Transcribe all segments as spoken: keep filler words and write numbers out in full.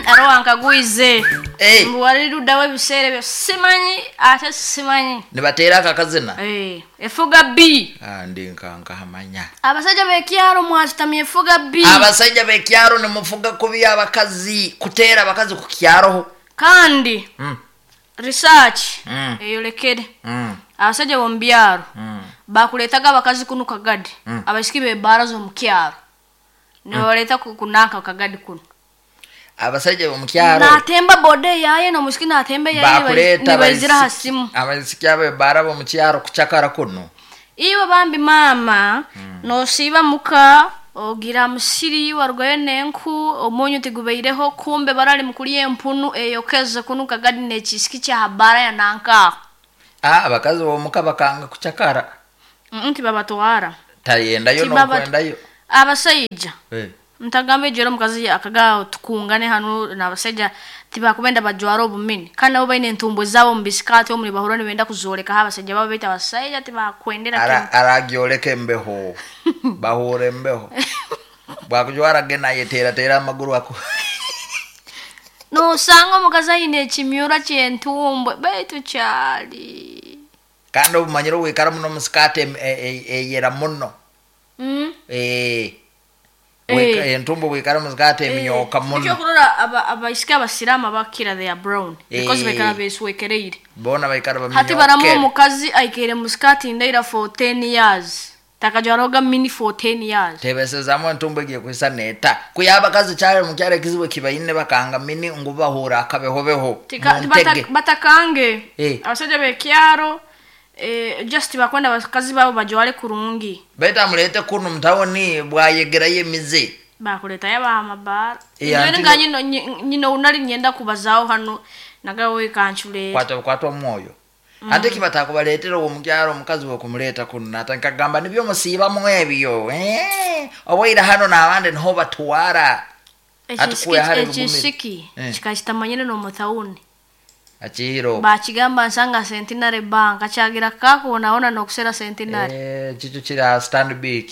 Arowa nkagwize. Eh. Mbu ebiseera ebyo simanyi ate simanyi. Nibateera akakazina. Eh, efuga B. Ah, ndi nkankahamanya. Abasajja b'ekyalo mwakitamye efuga B. Abasajja b'ekyalo nimufuga kubi abakazi, kuteera abakazi ku kyalo. Kandi Mm. research Mm. eyolekere. Mm. Abasajja b'omu byalo Mm. bakuleetaga abakazi kuno kagadi. Mm. Abaisiki b'ebbaara z'omu kyalo. Nibabaleeta ku kunanka kagadi kuno. Abasajja b'omu kyalo Natemba boda eyaye n'omusiki natemba eyaye bakuleeta nibaizira ha abaisiki- simu. abaisiki ab'ebbaara b'omu kyalo kucakara kuno. Iwe bambi maama nosiiba muka ogira musiri warugayo n'enku omunyu tigubaireho kumbe barali mukulya empunu eyokeze kunu kagadi n'ekisiki kya habara ya nanka. Ah, abakazi b'omuka bakanga kucakara. Mm, tibabatwara. Tayendayo Tibabat- n'okwendayo. Abasajja Eh. ntagamba ejero omukazi akaga tukungane hano n'abasajja tibakubenda bajwara obumini kandi nabo baine entumbo zaabo mu bisikaati omuri bahura nibenda kuzorekaho abasajja babo baitu abasajja tibakwendera Ara aragyoleka embeho. Bahura embeho. Bwakujwara ge nayeteerateera amaguru ako. Nosanga omukazi aine ekimyura ky'entumbwe baitu kyali. Kandi obumanyire wikara muno mu sikaati em- e- e- eyera muno. Mm. Eh. Eh. Wika entumbo wikara mu sikaati emyoka muno. Ekyokurora aba- abaisiki abasiraamu abakira they are brown because Eh. baikara beswekereire. Bona baikara Hati baramu baminyokere. omukazi aikaire mu sikaati ndaira for ten years. Takajwaroga mini for ten years. Tebesezamu entumbo egiye kwisa neta. Kuya abakazi kyali mu kyalo ekizibu ekibaine bakanga mini ngu bahura akabehobeho. Tika- Mu ntege. bata- batakange Eh. abasajja b'ekyaro eh, just bakwenda abakazi babo bajware kurungi. Baitu amulete kuno mutawuni bwayegerayo emize. Bakuleetayo ab'amabaara. Eh, Nyowe anti nga nyino nyino unali nyenda kubazaaho hano nagawe kanchuleera. Kwata kwata omwoyo. Ate kibatakubaleetera owo mukyalo omukazi we kumuleeta kuno nata nkagamba nibyo musiibamu ebyo. Eh, owaira hano n'abandi niho batwara. Ati kuya hari bugumire. Ekisiki Eh. kikakitamanyire n'omutawuni. Akihiro. Bakigamba nsanga Centenary Bank akyagira kakubonaona n'okusera Centenary. Eh, kikyo kiri aha Stanbic.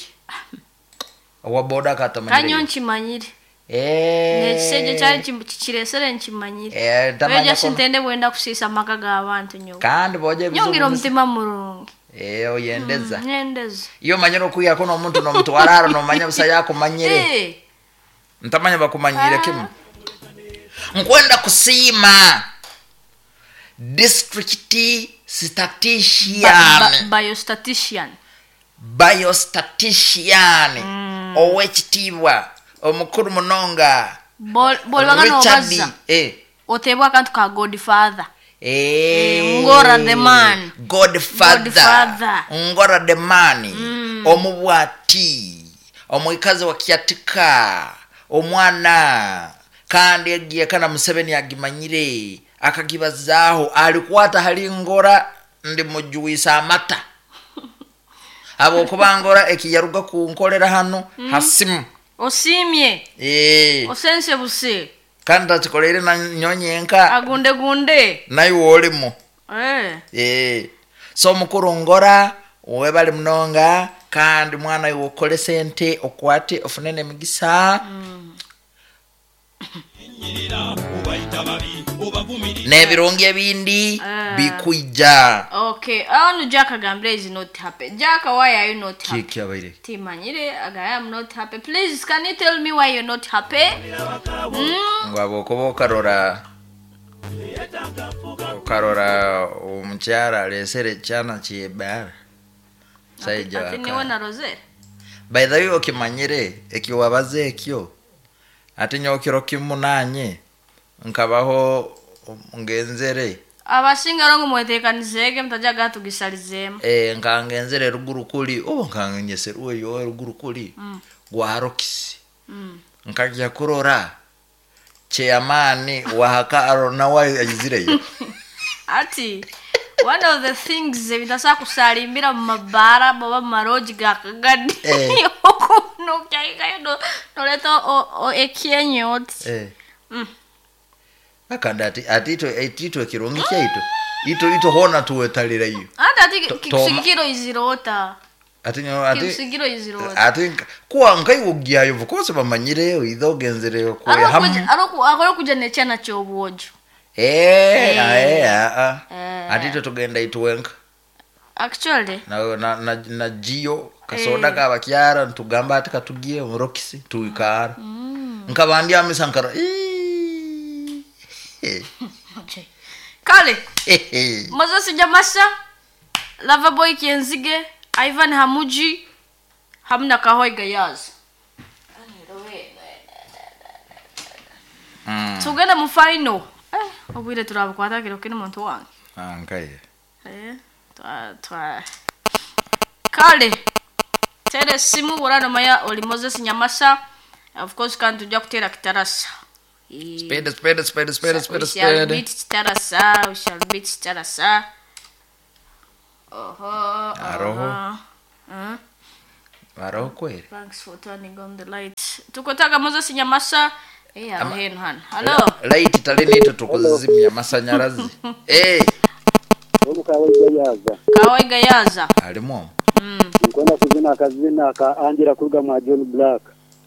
Owa boda katamanyire. Kanyo nkimanyire. Eh. N'ekisejje kyali kim- kikireesere nkimanyire. Eh, ntamanya Oyo kono. sintende bwenda kusiisa amaka g'abantu nyowe. Kandi boje ebizibu Nyongira musi- omutima murungi. Eh, oyendeza. Mm, nyendeza. Iyo omanyire okwiyako n'omuntu n'omutwara haro n'omanya busa yakumanyire. Eh. Ntamanya bakumanyire Ah. kimu. Nkwenda kusiima district statistician. Ba- ba- biostatistician. Biostatistician. Owekitiibwa omukulu munonga. Bol- bw'olibanga Richard, n'obazza. eh. Oteebwa akantu ka Godfather. Eh. Ngora the man. Godfather. Godfather. Ngora the man. Omubwati. Omwikazi wa Kyatika. Omwana. Kandi egiye kana Museveni agimanyire. Akagibazaaho alikwata hali ngora ndi mujuwisa amata. Habwokuba ngora ekiyaruga kunkolera hano hasimu. Osiimye. Eh. Osense buse. Kandi takikoleire na nyonyenka. Agunde gunde. Naye wolimu. Eh. Eh. So mukuru ngora webali munonga kandi mwana iwe okole sente okwate ofune n'emigisa. Mm. N'ebirungi ebindi Ah. bikwija. Okay, ano Jack agambire is not happy. Jack, why are you not happy? Kiki abaire? Timanyire, I am not happy. Please, can you tell me why you're not happy? Mm. Ngu habwokuba okarora okarora omukyala alesere ekyana kyebara. Saija Ati niwe waka. na Rosette. By the way okimanyire ekiwabaza ekyo ate nyokiro kimu nanye nkabaho ngenzere. Abasinga rongo mwetekanizeege mutajja gatugisalizeemu. Eh, nkangenzere ruguru kuli oba nkangenyeserwe yo ruguru kuli Mm. gwa Rokisi. Mm. Nkajya kurora chairman wahaka arona nawe ayizireyo. Ati one of the things ebitasobola kusalimbira mu mabaara oba mu marogi ga kagadi Eh. okunokyayikayo noleeta o- o- ekyenyo oti. Eh. Mm. Akandi ati ati itwe itwe ekirungi kyaitu ito ito hona tuwetalirayo. Ate ati To- kisigikiro izirota. Ati ati Kimsigiro iziro. Ati kuwa nkaiwugyayo of course bamanyire oitho ogenzere kwe hamu. Ariko akora kuja nechana kyobwojo. Eh, eh, ah. Ati twe tugenda itwenka. Actually na na na, na jio kasoda eh. Kabakyara ntugamba ati katugiye mu Roxy tuikara. Mm. Nkabandi amisankara. Okay. Kale. Moses Nyamasa, Loverboy Kyenzige, Ivan Hamuji, hamna Kahoi Gayaz. Mm. Tugenda mu final. Eh, obwire turabukwata kiro kino muntu wange. Ah, nkaye. Eh, twa twa. Kale. Tere simu warano maya oli Moses Nyamasa. Of course kan tujja kutera kitarasa. Speed, speed, speed, speed, speed, We shall speed. beat Kitarasa, we shall beat Kitarasa. Oho, Aroho. Mm. Aroho kweli. Thanks for turning on the lights. Tukotaka Moses Nyamasa. Eh, aroho heno hano. Hello. Light talini ito tukuzimya masanyarazi. Eh. Kawaiga. Kawaiga yaza. Alimu. Mm. Nkwenda kuzina akazina ka Angela kuruga mwa John Black.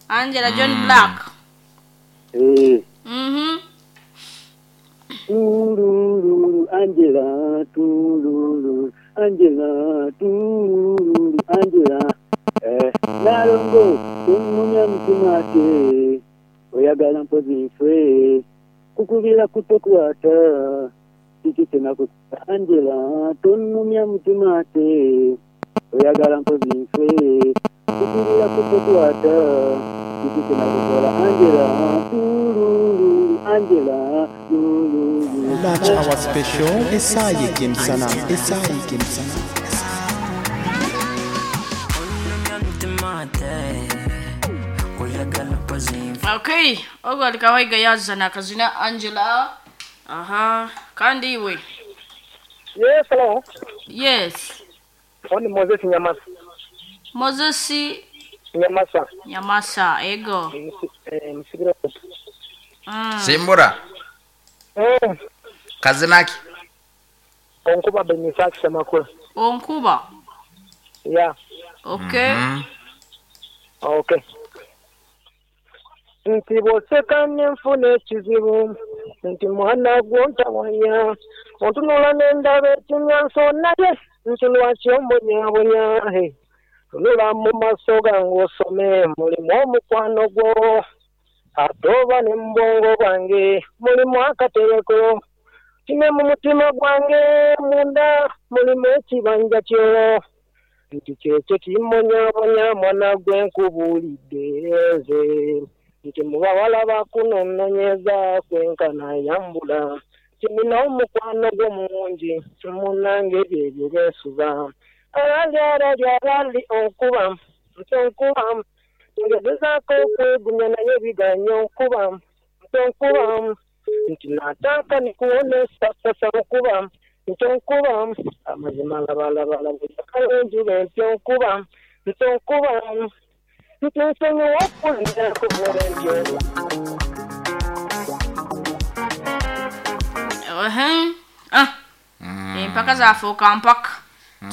Angela John mm. Black. Eh. Mhm. Tururu Angela tururu Angela tururu Angela eh nalongo umumya mtumate oyagala mpozi nfwe kukubira kutokwata kiki nako Angela tunumya mtumate oyagala mpozi nfwe kukubira kutokwata kiki nako Angela tururu Angela tururu. Lunch hour special Esaye Kimsana Esaye Kimsana Okay, ogo alikawaiga yaza na kazina Angela. Aha, kandi iwe. Yes, hello. Yes. Oni Moses Nyamasa. Moses Nyamasa. Nyamasa, ego. Eh, msigiro. Mm. Simbura. Eh. Kazinaki. Onkuba Benisaki Semakula. Onkuba. Yeah. Okay. Mm -hmm. Okay. Nti bw'oseka n'enfuna ekizibu nti mwana gwo ntawanya ontunula n'endaba ekimyanso naye nti lwaki ombonyabonya tunula mu maaso gange osome mulimu omukwano gwo ate oba ne mu bwongo bwange mulimu akatereko kine mu mutima gwange munda mulimu ekibanja kyo nti kyekyo kimbonyabonya mwana gwe nkubuulidde nze nti mubawala bakunononyeza kwenkana yambula kimina omukwano gwo mungi munange byebyo byesuba alali alali alali onkuba nti onkuba ngezezaako okwegumya naye biganya onkuba nti onkuba nti nataka nikuone sasa onkuba nti onkuba amazima labalabalaba enjuba nti onkuba nti onkuba nti nsonyiwa okulinda kubula entyo. Ah. Empaka zafuuka mpaka.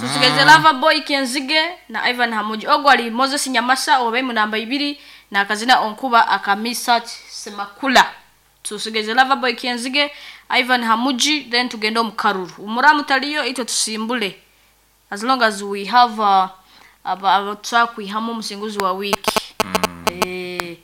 Tusigeze Loverboy Kyenzige na Ivan Hamuji. Ogwo ali Moses Nyamasa obe mu namba ibiri na kazina onkuba akamisa Semakula. Tusigeze Loverboy Kyenzige, Ivan Hamuji, then tugenda omukaruru. Umuramu taliyo ito tusimbule. As long as we have uh, aba kwihamu omusinguzi wa wiki. Mm. Eh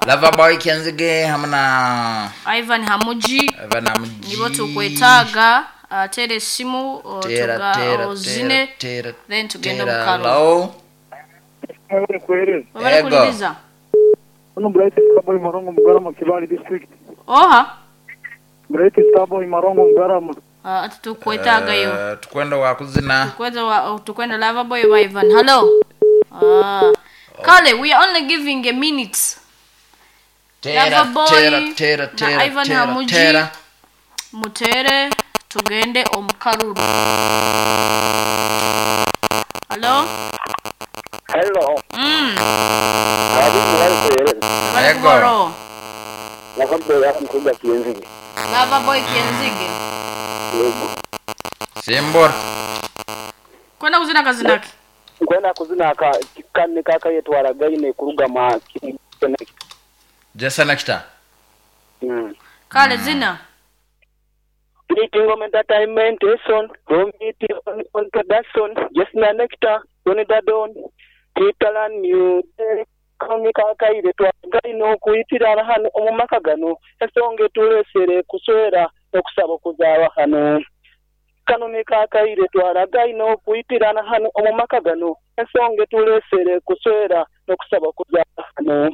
Loverboy Kyenzige hamna Ivan Hamuji. Ivan Hamuji. Nibo tukwetaaga uh, tere esimu tera tera ozine tera then tugenda tera omukaruru. Hello. Wabale kuliriza. Ono Bright Starboy Marongo Mugarama Kibali district. Oha. Bright Starboy Marongo Mugarama. Uh, ati tukwetagayo. Uh, tukwenda wakuzina. Tukwenda wa tukwenda Loverboy wa Ivan. Hello. Ah. Kale, we are only giving a minute. Tera Loverboy tera tera na tera Ivan tera Hamuji. tera. Mutere tugende omukaruru. Hello? Hello. Mm. Abi mwalikueleza. Ego. Loverboy yakukuba Kyenzige. Loverboy Kyenzige. Yego. Simbura. Kwenda kuzina kazinaki. Nkwenda kuzina aka kanne kakayetwara gaine kuruga ma Jesse Nectar. Mm. Kale zina. Meeting on entertainment son, Romiti on, on production, Jesna Nectar, Tony Dadon, Titalan New, Kami kakaire twagaine okuyitirana hano omu maka gano ensonga etulesere kuswera okusaba okuzaaba hano kano ne kakaire twaragaine okuyitirana hano omu maka gano ensonga etulesere kuswera n'okusaba okuzaaba hano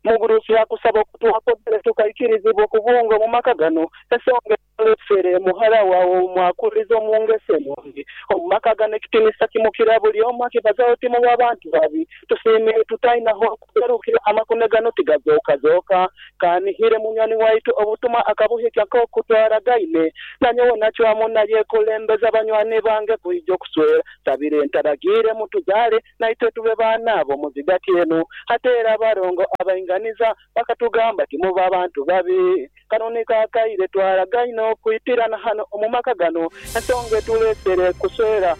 mugurusi akusaba okutuwakodere tukaikirizibwa okubunga omu maka gano ensonga etulesere muhara wawe mwakuliza omungese nungi omu maka gano ekitinisa kimukira buli omu akibazaho timu w'abantu babi tusiimire tutainaho okugarukira amakune gano tigazookazoka kanihire munywani waitu obutuma akabuhikya nk'okutwara gaine nanyowe nacwamu naye kulembeza banywani bange kwija okuswera sabire ntaragire mutuzaale naitwe tube baana abo muzigati enu ate era abarongo abainganiza bakatugamba timuba abantu babi kanoni kakaire twaragaine okwitirana hano omu maka gano ensonga etulesere kuswera.